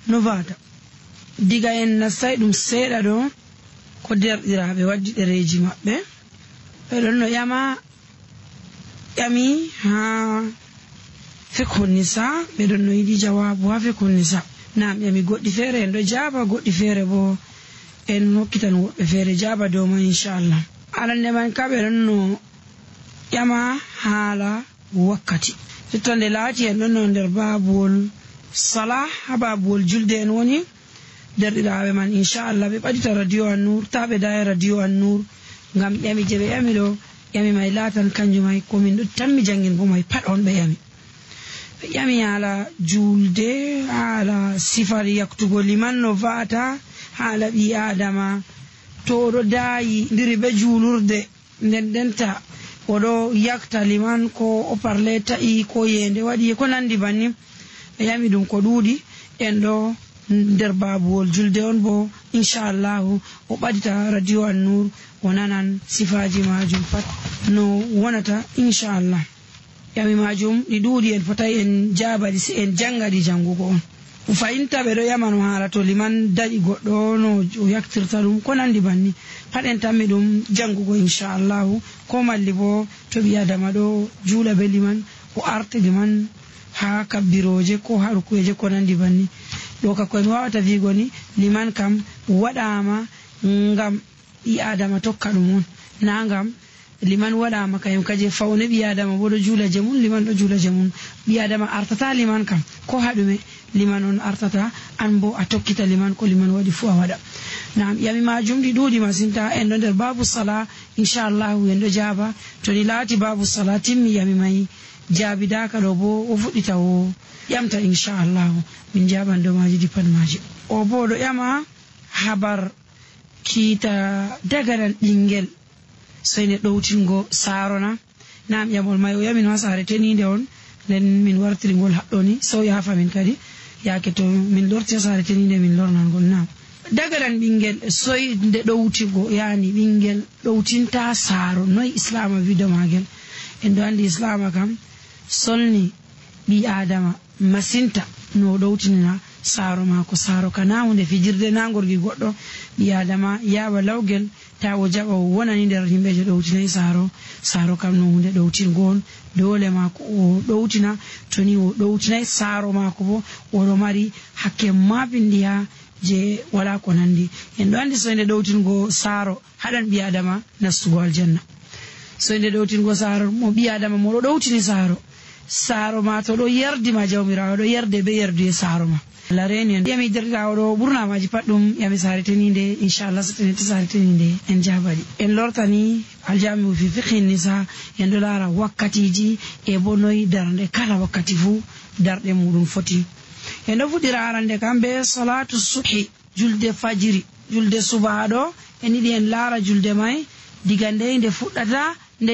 no vata diga en nastai ɗum seeɗa ɗo ko derɗiraaɓe waddi ɗereji maɓɓe ɓe ɗon no ƴami ha fikhun nisa ɓe ɗon no yiɗi jawabu ha fikhun nisa nam ƴami goɗɗi feere en ɗo jaaba goɗɗi feere bo en hokkitan woɓɓe feere jaaba dow man inchallah. Arande man ka ɓe ɗon no ƴama haala wakkati tottonde laati en ɗon no nder babuwol sala ha babuwol julde en woni derɗiraaɓe man inchallah ɓe ɓadita radio An-Nur ta ɓe daya radio An-Nur ngam ƴami je ɓe ƴami ɗo ƴami may laatan kanjum may komin ɗo tammi jangin bo may pat on ɓe ƴami. Ɓe ƴami haala julde haala sifar yaktugo liman no va'ata haala ɓi adama to oɗo daayi ndiri ɓe juulurde nden denta oɗo yakta liman ko o parle ta'i ko yende waɗi ko nandi banni ɓe ƴami ɗum ko ɗuuɗi en ɗo nder babuwol julde on bo inchallahu o ɓadita radio An-Nur o nanan sifaji majum pat no wonata inchallah. ƴami majum ɗi ɗuuɗi en fotai en jabaɗi si en jangaɗi jangugo on fayinta ɓe ɗo ƴamano haala to liman daƴi goɗɗo no o yaktirta ɗum ko nandi banni pat en tammi ɗum jangugo inchallahu ko malli bo to ɓi adama ɗo juula be liman o arti liman ha kabbiroje ko ha rukuyeje ko nandi banni ɗo ka koye mi wawata wigo ni liman kam waɗama ngam ɓi adama tokka ɗum on na ngam liman waɗama kayum kaje fawne ɓi adama bo ɗo juula je mum liman ɗo juula je mum ɓi adama artata liman kam ko haɗume liman on artata an bo a tokkita liman ko liman waɗi fu a waɗa. Nam ƴami majum ɗi ɗuuɗi masinta en ɗo nder babu sala inchallahu en ɗo jaaba to ni laati babu sala timmi ƴami may jaabidaka ɗo bo o fuɗɗita o ƴamta inchallahu min jaɓan dow maji ɗi pat maji. O bo ɗo ƴama habar kiita dagaran ɓingel soyne ɗowtingo saarona nam ƴamol may o yamin ha saare tenide on nden min wartirigol haɗɗoni so yafamin kadi yaake to min lorti ha saare tenide min lornangol. nam dagaran ɓingel soyde ɗowtigo yani ɓingel ɗowtinta saaro noyi islama wido magel en ɗo andi islama kam solni ɓi adama masinta no ɗowtinina saaro mako saaro kana hunde fijirde na gorgi goɗɗo ɓi adama yaɓa lawgel ta o jaɓa o wonani nder yimɓe je ɗowtinayi saaro kam no hunde ɗowtingo on dole mako o ɗowtina toni o ɗowtinayi saaro mako bo oɗo mari hakke mabindiha je wala ko nandi. En ɗo andi soyde ɗowtingo saaro haɗan ɓi adama nastugo aljanna. soyde ɗowtingo saaro mo ɓi adama mo ɗo ɗowtini saaro ma to ɗo yerdima jawmirawo ɗo yerde be yerduye saaro ma Allah reni en ƴami derɗirawo ɗo ɓurna maji pat ɗum ƴami saare tenide inchallah so tenete saare tenide en jabaɗi en lortani aljamiu fi fiqhin nisa en ɗo laara wakkatiji e bo noyi darde kala wakkati fu darɗe muɗum foti. en ɗo fuɗɗira arande kam be salatu subhi julde fajiri julde subaha ɗo en yiɗi en laara julde may diga nde fuɗɗata